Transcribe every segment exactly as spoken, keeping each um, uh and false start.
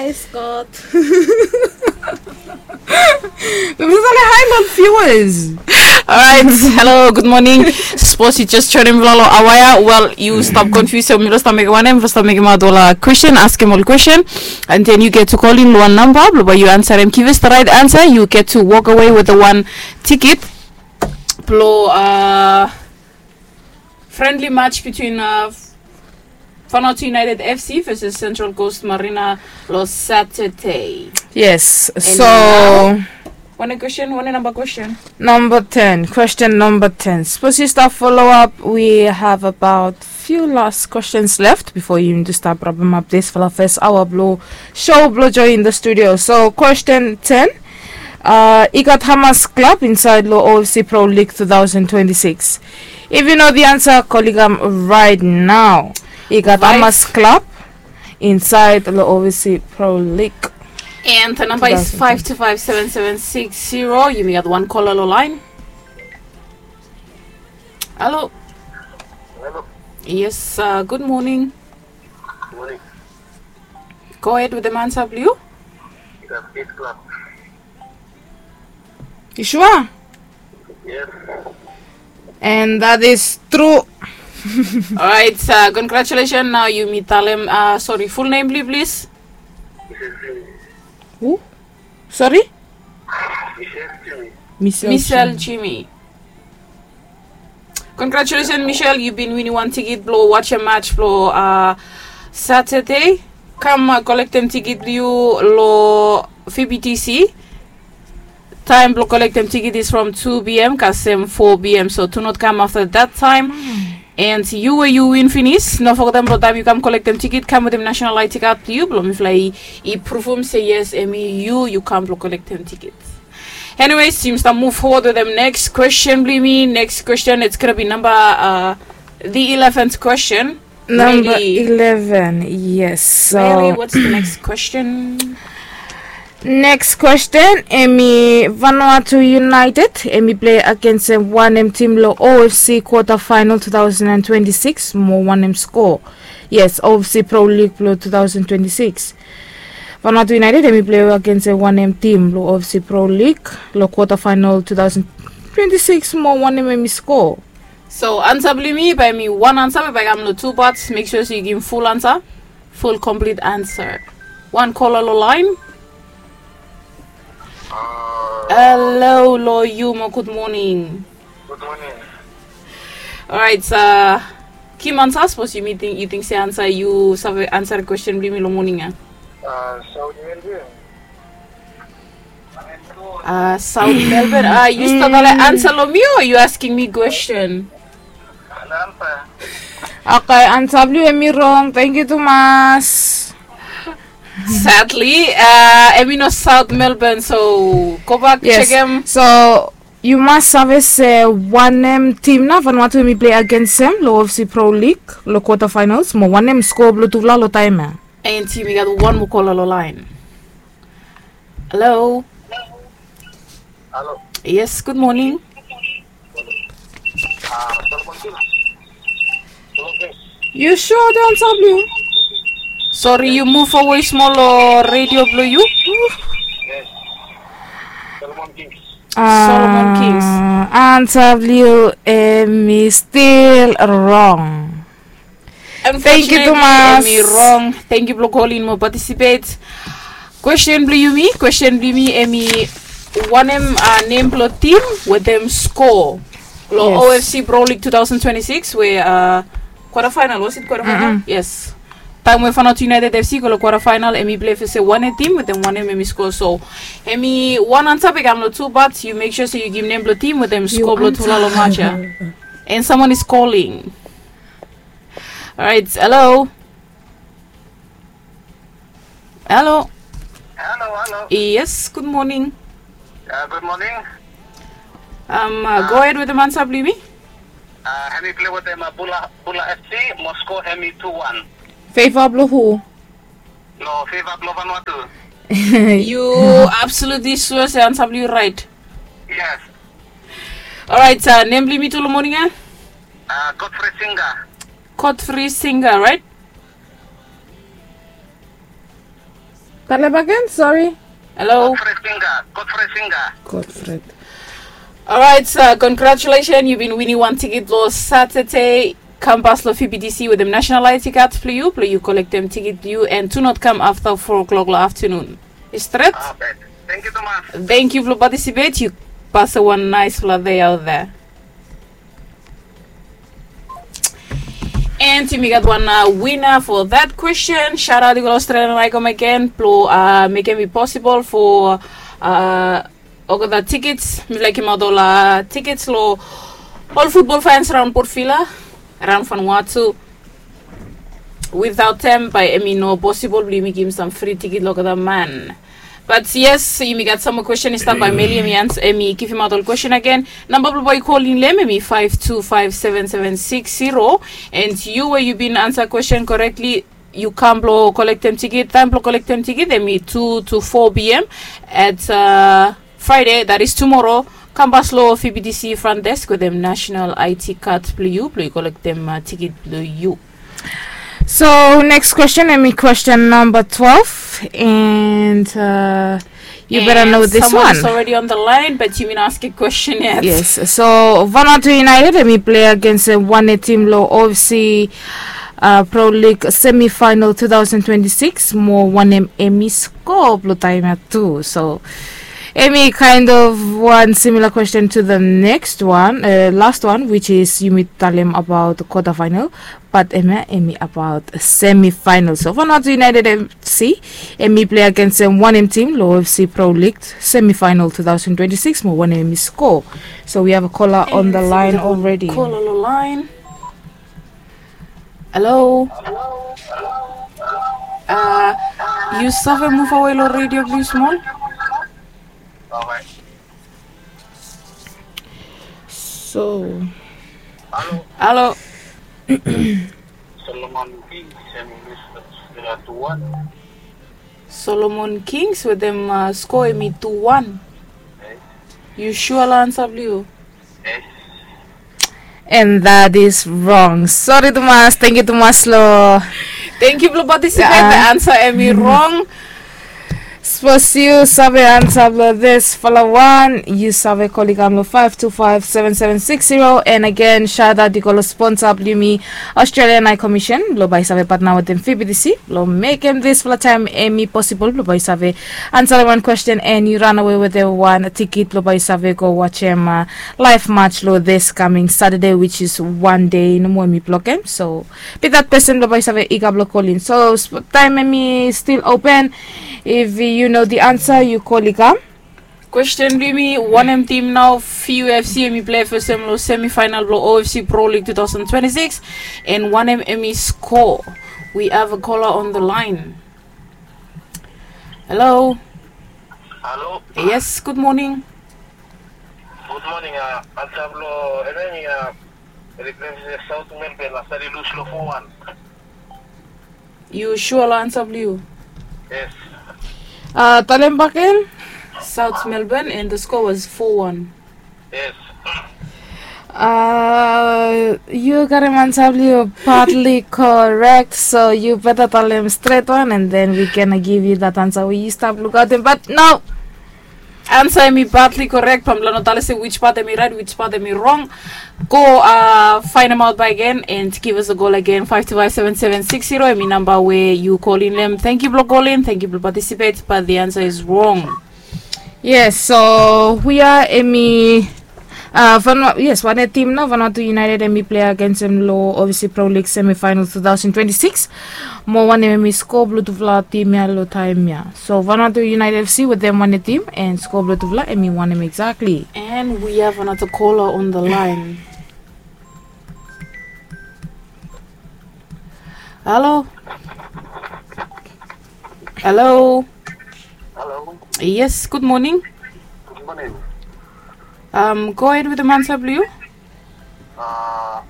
Hi, Scott. Mister Sale, hi, long viewers. Alright, hello, good morning. Sapos yu jes joinim long awa ya, wel, yu stap confuse, so mi lo stap mekem wanem, mi stap mekem aot ol kwestin, askem ol kwestin, and then yu get to call in long wan namba, blo bae yu ansarem, give us the right answer, you get to walk away with the one ticket. Blo, uh, friendly match between, uh, Vanuatu United F C versus Central Coast Marina lo Saturday. Yes, so now, wanem question, wanem namba question? Number ten, question number ten. Sapos yu stap follow up, we have about few last questions left before yu need to stap wrap up this for the first hour blo show blo Joy in the studio. So question ten, uh, i gat Hamas Club inside lo O F C Pro League two thousand twenty-six. If you know the answer, call in right now. I gat Hamas Club inside lo O F C Pro League. And the number is five two five seven seven six zero. Yumi gat wan caller lo line. Hello. Hello. Yes, uh, good morning. Morning. Go ahead with the answer, blue. It's a big club. Yu sua? Yes. And that is true. Alright, uh, congratulations. Now yumi talem, uh, sorry, full name, please. Michelle Jimmy. Who? Sorry? Michelle Jimmy. Michelle Jimmy. Congratulations, Michelle. Yu bin winim wan tiket blo wajem match blo, uh, Saturday. Kam, uh, kolektem tiket blo yu lo V B T C. Taem blo kolektem tiket is from two P M kasem four P M, so do not come after that time. And yu we yu win finis, no fogetem blo taem yu kam kolektem tiket, kam wetem national I D card blo yu blo mifala i, i pruvum se yes, hemi yu, yu kam blo kolektem tiket. Anyways, yumi stap move forward wetem next question blo yumi. Next question, it's gonna be number, uh, the eleventh question. Number eleven, yes. So, Mary, what's the next question? Next question, hemi Vanuatu United, hemi play agensem wanem tim lo O F C quarter final two thousand and twenty-six, mo wanem score? Yes, O F C Pro League blo two thousand twenty-six. Vanuatu United, hemi play agensem wanem tim lo O F C Pro League lo quarter final two thousand twenty-six, mo wanem hemi score? So ansa blo yumi bae hemi wan ansa we bae i kam lo tu parts. Make sure se yu givim full ansa, full complete ansa. Wan caller lo line. Hello lo yu mo, good morning. Good morning. Alright, uh, givim ansa, sapos yu ting, yu ting se ansa, yu save ansa question blo yumi lo moning ya. Uh, South Melbourne. Uh, South Melbourne. Uh, yu stap talem ansa lo mi o yu asking mi question? Okay, ansa blo yu hemi rong. Thank you tumas. Sadly, uh, hemi no South Melbourne, so gobak jekem. So yu mas save se wanem tim nao Vanuatu hemi play agensem lo O F C Pro League lo quarter finals, mo wanem score blo tufala lo taem ya. And yumi gat wan mo caller lo line. Hello. Hello. Yes, good morning. Ah, Solomon Kings. Solomon Kings. Yu sua ansa blo yu? Sorry, yu move away smol lo radio blo yu. Yes. Solomon Kings. Solomon Kings. Ah, ansa blo yu hemi stil rong. Thank you tumas. Hemi rong. Thank you blo kolin mo participate. Question blo yumi, question blo yumi hemi wanem, uh, nem blo tim wetem score lo O F C Pro League two thousand twenty-six we, uh, quarter final, was it quarter final? Yes. Taem we Vanuatu United F C go lo quarter final, hemi play fesem wanem tim wetem wanem hemi score. So hemi wan ansa bae i kam lo tu parts. Yu make sure se yu givim nem blo tim wetem score blo tufala lo match ya. And someone is calling. Alright, hello. Hello. Hello, hello. Yes, good morning. Uh, good morning. Um, uh, go ahead wetem ansa blo yumi. Uh, hemi play wetem, uh, Bula, Bula F C, mo score hemi two one. Favor blo hu? No, favor blo Vanuatu. Yu absolutely sua se ansa blo yu right? Yes. Alright, uh, nem blo yumi tu lo moning ya? Uh, Godfrey Singer. Godfrey Singer, right? Talem bagen, sori. Hello. Godfrey Singa. Godfrey Singa. Godfrey. Alright, uh, congratulations, yu bin winim wan tikit lo Saturday. Kam pas lo F B T C wetem national I D card blo yu, blo yu kolektem tikit blo yu, and do not kam afta four o'clock lo afternoon. Is stret? Ah, bet. Thank you tumas. Thank you blo participate. Yu pas wan nice fla day out there. And yumi gat wan uh, winner for that question. Shout out to Australian Icon again. Blo uh, mekem it possible for uh, olgeta tickets. Mifala i givimaot ol uh, tickets lo ol football fans around Port Vila, around Vanuatu. Without them, bae hemi no possible blo yumi givim sam free ticket lo olgeta man. But yes, yumi gat sam moa question i stap bae Meli hemi ans hemi givimaot ol question agen. Namba blo bae yu kolim lo hem hemi five two five seven seven six zero. And yu we yu bin ansa question correctly, yu kam blo kolektem ticket. Taem blo kolektem ticket hemi two to four p.m. at uh, Friday, that is tomorrow. Kam pas lo F B T C front desk wetem national I D card blo yu, blo yu kolektem uh, ticket blo yu. So next question, hemi question number twelve, and uh, you better know this one. Someone is already on the line, but yu bin ask a question yet. Yes, so Vanuatu United hemi play against uh, wanem tim lo O F C uh, Pro League semifinal two thousand twenty-six, mo wanem hemi score blo taem ia tu. So hemi kind of one similar question to the next one, uh, last one, which is yumi talem about the quarter final, but hemia hemi about semifinal. So Vanuatu United F C hemi play against um, wanem tim lo O F C Pro League semifinal two thousand twenty-six, mo wanem hemi score. So we have a caller on the line already. Caller on the line. Hello. Uh, yu save move awe lo radio plis smol. So. Halo. Halo. Solomon Kings hemi lus lo Vila tu wan. Solomon Kings wetem uh, score hemi tu wan. Yu sua lo ansa blo yu? And that is wrong. Sori tumas, tangkiu tumas lo. Tangkiu blo participate. The answer hemi wrong. Sapos yu save ansa blo disfala wan, yu save kol i kam lo five two five seven seven six zero. And again, shout out i go lo sponsor blo yumi, Australian High Commission, blo bae i save patna wetem F B T C blo mekem disfala taem hemi posibol blo bae i save ansarem wan question and yu ranawe wetem wan tikit blo bae i save go wajem uh, live match lo this coming Saturday, which is wan dei nomo hemi blokem. So be that person blo bae i save i kap lo kolin. So taem hemi stil open, if yu no the answer, yu kol i kam. Question blo yumi, wanem tim nao F U F C hemi play fesem lo semifinal blo O F C Pro League two thousand twenty-six, and wanem hemi score? We have a caller on the line. Hello. Halo. Yes, good morning. Good morning. Uh, ansa blo hemia hemi uh, South Melbourne, uh, save lus lo four one. Yu sua lo ansa blo yu? Yes. Uh, talem baken. South Melbourne and the score was four one. Yes. Uh, yu karem ansa blo yu partly correct, so yu beta talem stret wan and then we gonna give you that answer we yu stap lukaotem. But no, ansa hemi partly correct, bae mifala no talem se which part hemi right, which part hemi wrong. Go uh, find them out by again and give us a call again. Five two five seven seven six zero hemi namba we yu kolin lo hem. Tangkiu blo kolin, tangkiu blo participate, but the answer is wrong. Yes, so we are hemi uh, Vanua, yes, wanem tim nao Vanuatu United hemi play against hem lo O F C Pro League semifinal two thousand twenty-six. Mo wanem hemi score blo tufala tim ia lo taem ia. So Vanuatu United F C wetem wanem tim and score blo tufala hemi wanem exactly. And we have another caller on the line. Halo. Halo. Halo. Yes, good morning. Good morning. Um, go ahead with the ansa blo yu. Uh,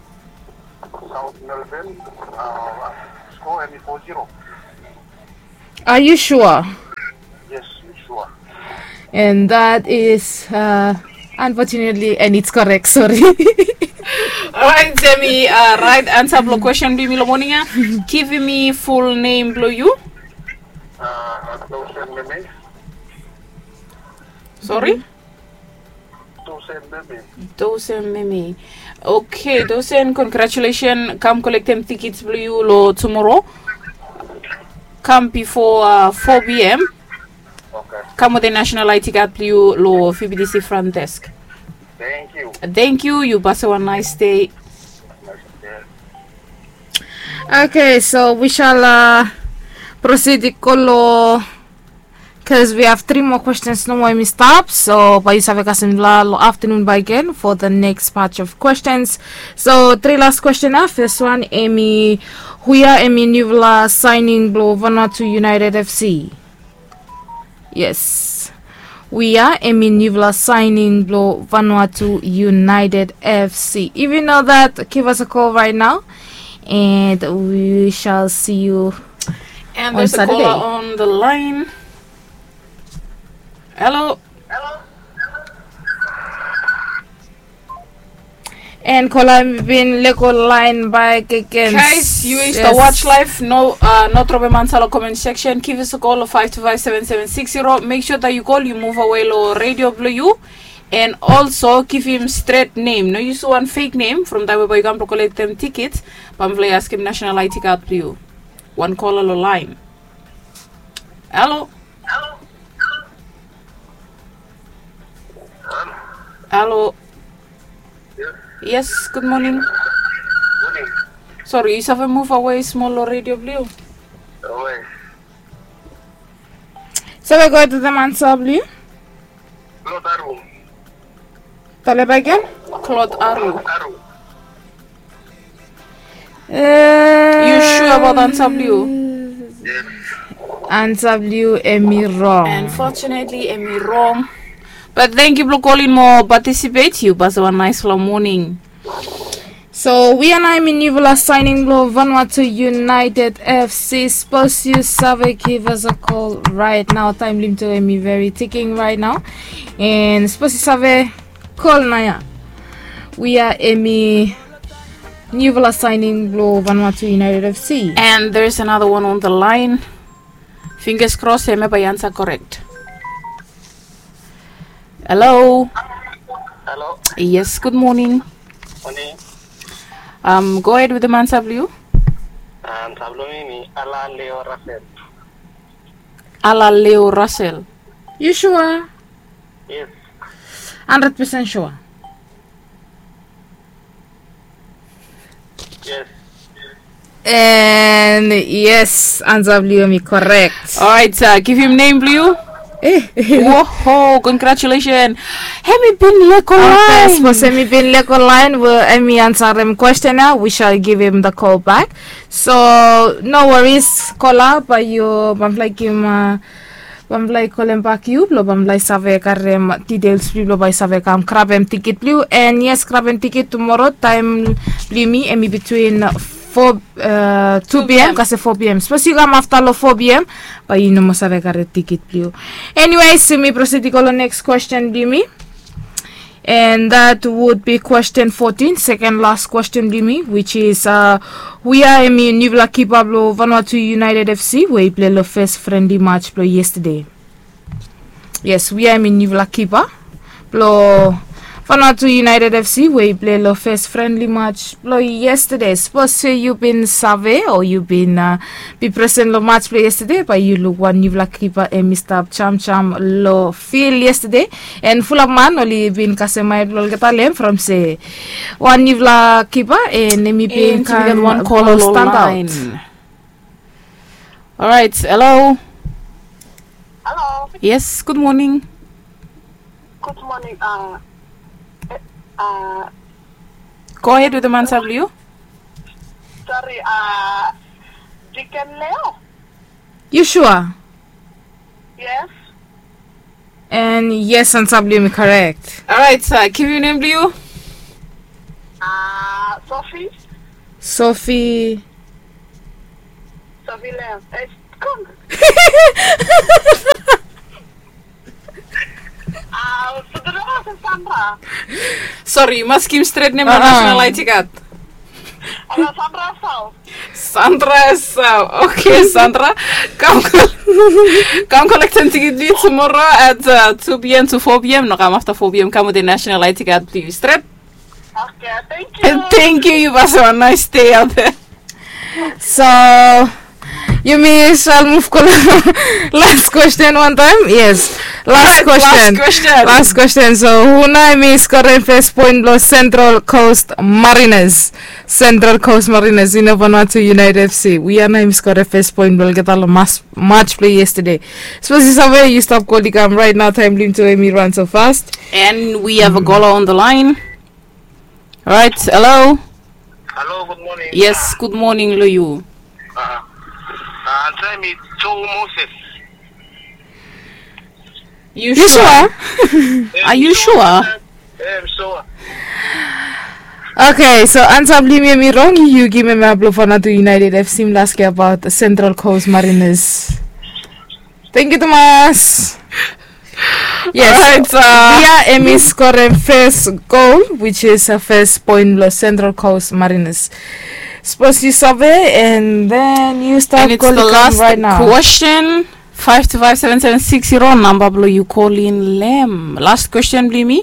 South Melbourne, uh, score hemi four zero. Are you sure? Yes, mi sua. And that is uh, unfortunately, and it's correct, sorry. Alright, hemi uh, right ansa blo question blo yumi lo moning ia. Givim mi full name blo yu. Sori? Dosen Meme. Okay, Dosen, congratulations. Kam kolektem tikits blong yu long tumoro. Kam bifo four p.m. Kam wetem national I D card blong yu long V B T C front desk. Thank you. Yu pasa wan nice day. Okay, so we shall proceed i go long, cause we have three more questions nomo hemi stap. So bae yu save kasem long afternoon bae gen for the next batch of questions. So three last question ya. First one hemi, hua hemi niufala signing blong Vanuatu United F C? Yes. Hua hemi niufala signing blong Vanuatu United F C? If you know that, give us a call right now, and we shall see you. And there's a caller on the line. Hello. And kola hemi bin lego laen bakegen. Guys, yu we stap watch live, no, no dropem ansa long comment section. Give us a call long five two five seven seven six zero. Make sure that yu call, yu move away long radio blong yu. And also givim stret nem, no use wan fake nem. From taem we bae yu kam blong kolektem tikits, bae mifala i askem national I D card blong yu. Wan kola long laen. Hello. Hello. Yes, good morning. Sori, yu save move away smol long radio blong yu? Save go wetem ansa blong yu? Talem bakegen. Klot Aru. Yu sua abaot ansa blong yu? Ansa blong yu hemi rong. Unfortunately hemi rong. But thank you blong kolin mo participate. Yu pasa wan nice long moning. So hua nao hemi niufala signing blong Vanuatu United F C. Sapos yu save, give us a call right now. Taem blong yumi tu hemi very ticking right now. And sapos yu save, call nao ya. Hua hemi niufala signing blong Vanuatu United F C? And there's another one on the line. Fingers crossed hemia bae i ansa korek. Hello. Hello. Yes, good morning. Morning. Go ahead wetem ansa blong yu. Ansa blong mi hemi Alaleo Russell. Alaleo Russell. Yu sua? Yes. Hundred percent sua? Yes. And yes, ansa blong yu hemi korek. Alright, givim nem blong yu. Woho, congratulations. Hemi bin lego laen. Sapos hemi bin lego laen, we hemi ansarem kwestin ya, we shall give him the call back. So no worries, kola, bae yu, bae mifala i givim, bae mifala i kolem bak yu blong bae mifala i save karem details blong yu blong bae yu save kam grabem tikit blong yu. And yes, grabem tikit tumoro taem blong yumi hemi between four, two p.m., kasem four p.m. Sapos yu kam afta long four p.m., bae yu no moa save karem tikit blong yu. Anyways, yumi proceed i go long next question blong yumi. And that would be question fourteen, second last question blong yumi, which is, hua hemi niufala kipa blong Vanuatu United F C we i plei long fes friendly match blong yesterday? Yes, hua hemi niufala kipa blong Vanuatu United F C we i plei long fes friendly match blong yesterday? Sapos se yu bin save o yu bin, bin presen long match blong yesterday, bae yu luk wan niufala kipa hemi stap jamjam long field yesterday. And fulap man oli bin kasem maet blong olgeta long hem from se wan niufala kipa, and hemi bin kam wan kola long standout. Alright, hello. Hello. Yes, good morning. Good morning. Go ahead wetem ansa blong yu. Sorry, Deacon Leo. Yu sua? Yes. And yes, ansa blong yu hemi korek. Alright, givim nem blong yu. Sophie. Sophie. Sophie Leo. Sori, yu mas givim stret nem long national I D card. Sandra Esau. Sandra Esau. Okay, Sandra, kam. Kam kolektem tikit blong yu tumoro at uh, two p m to four p m. No kam afta four p m, kam wetem national I D card blong yu stret. Okay, thank you. Thank you, yu basa wan nice day out there. So yumi sal move go last question one time. Yes, last question. Last question. So hu nao hemi skorem first point blong Central Coast Mariners? Central Coast Mariners, yu no Vanuatu United F C. Hu ya nao hemi skorem first point blong olgeta long match blong yesterday? Sapos yu save, yu stap kol i kam right now. Taem blong yumi tu hemi run so fast. And we have a caller on the line. Right, hello. Hello, good morning. Yes, good morning long yu. Uh, uh, answer me, Joe Moses. You sure? Are you sure? Yeah, I'm sure. Okay, so ansa blong yumi hemi rong. Yu givim hemia blong Vanuatu United F C. Mi laskem abaot Central Coast Mariners. Thank you tumas. Yes. Right, uh, yeah, hemi skorem first goal, which is a first point blong Central Coast Mariners. Sapos yu save, and then yu stap kol i kam right now. Question. Five two five seven seven six zero namba blong yu kol in long hem. Last question blong yumi.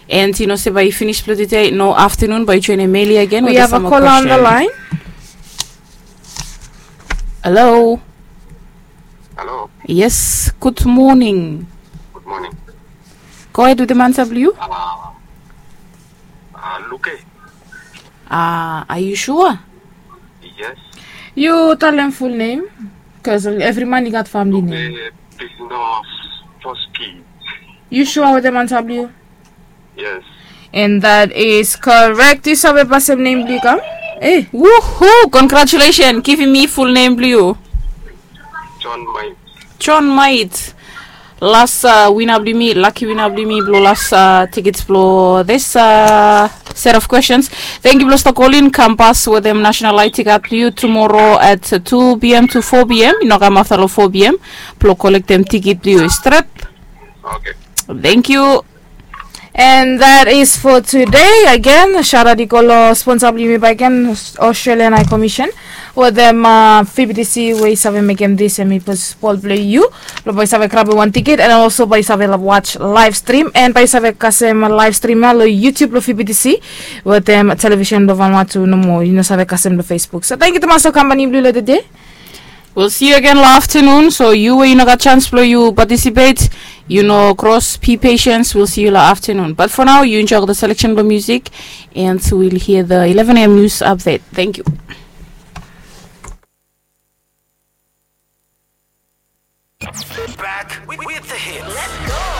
And yu no se bae i finis blong tede, no, aftenun bae i joenem Meli agen. We have a caller on the line. Hello. Hello. Yes, good morning. Good morning. Go ahead wetem ansa blong yu. Uh, uh, Luke. Uh, are you sure? Yes. Yu talem full name. Bikos evri man i gat famili nem. Luke Pisnoski. Yu sure wetem ansa blong yu? Yes. And that is correct. Yu save pasem nem blong yu kam? Eh, woohoo! Congratulations. Givim mi full name blong yu. John Mait. John Mait. Las uh, wina blong yumi, laki wina blong yumi blong las uh, tikits blong this uh, set of questions. Thank you blong stap kol in. Kam pas wetem national I D card blong yu tumoro at uh, two p m to four p m. Yu no kam afta long four p m blong kolektem tikit blong yu stret. Okay. Thank you. And that is for today. Again, shout out i go long sponsa blong yumi bakegen, Australian High Commission, wetem uh, V B T C we i save mekem this, hemi pos bol blong yu blong bae i save grabem wan tikit, and also bae i save watch live stream, and bae i save kasem live stream ya long YouTube blong V B T C wetem television blong Vanuatu nomo. Yu no save kasem long Facebook. So thank you tumas long company blong yu long tede. We'll see you again long aftenun. So yu we yu no gat chance blong yu participate, yu no kros, be patient. We'll see you long aftenun. But for now, yu enjoy the selection blong music, and we'll hear the eleven a m news update. Thank you. Back with, with the hits.